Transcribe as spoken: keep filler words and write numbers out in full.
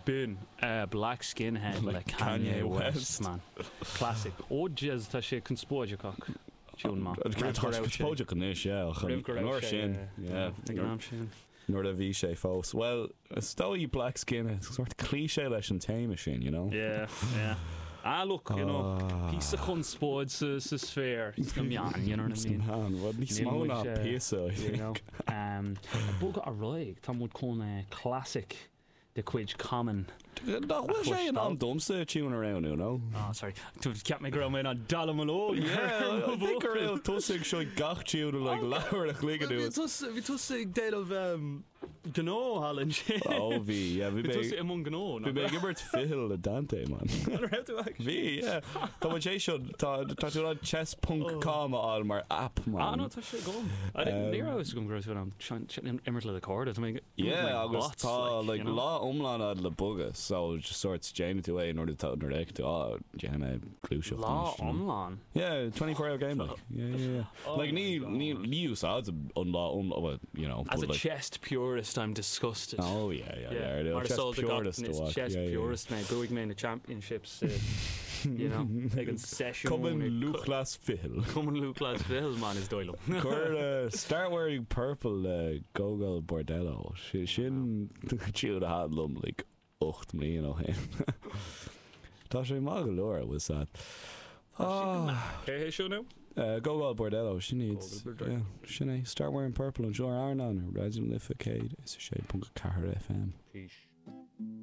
B'in uh, Black Skinhead le Kanye West, man. Classic. Ó jez, tá sé conspóideach ach tune maith. Conspóideach anois, yeah, ach Roimh go raibh an uair sé, sin, eh, yeah. ag an am sin. Nuair a bhí sé fós. Well, is dóigh Black Skinhead, sort cliché leis an téama sin, you know? Yeah, yeah. Ah, look, you know, Ah. píosa conspóid sa sa sphere sna meáin, you know what I mean? Man, well, níos Níl mó muid, ná eh, píosa, I You think. know. Um, Bogadh ar aghaidh, tá muid chun eh, classic de chuid Common. Nach bhfuil sé in am domsa tune around, you know? Oh, sorry. Tu ceap mé go raibh mé an dallamullóg. Yeah, I think gur raibh tusa ag seo gach tune like leathuair a chloig anuas. Bhí tusa ag déanamh gnó thall ansin. Ó bhí, yeah, bhí Bhí mé tusa i mbun gnó. bhí mé ag imirt ficheall le Dante, man. Bhí, yeah. Tá mo sé seo tá tá tú an chess ponc com a fháil mar app, Ah, man. no, tá sé agam. Ní raibh gom go an imirt le do chairde. Tá mé Yeah, agus bots, tá like you know? lá iomlán ad le bogadh, so just sort déanann tú é nuair atá nuair a tú á déanfaidh mé gluaiseacht Lá anois, you know. iomlán. Yeah, twenty-four hour game, like. Yeah, yeah, yeah. Oh Like my ní God. ní ní úsáid an lá iomlán, well, you know, As but a like chess purist, I'm disgusted. Oh yeah, yeah, yeah. Mar Chess is purist is a chess yeah, yeah. purist mé bhuaigh mé na championships uh, you know ag an session. Cumann Lúthchleas Ficheall. Cumann Lúthchleas Ficheall, man, is dóigh liom. Cuir uh, Start Wearing Purple uh, Gogol Bordello. Sin sin tune a thaitin liom like ocht mbliana ó shin. Tá sé maith go leor was that. Ah, Cé hé seo nó? uh, Gogol Bordello, sin iad. Gogol Bordello. Yeah, sin é Start Wearing Purple anseo ar Airneán Raidió na Life céad is a sé ponc ceathair F M. Peace.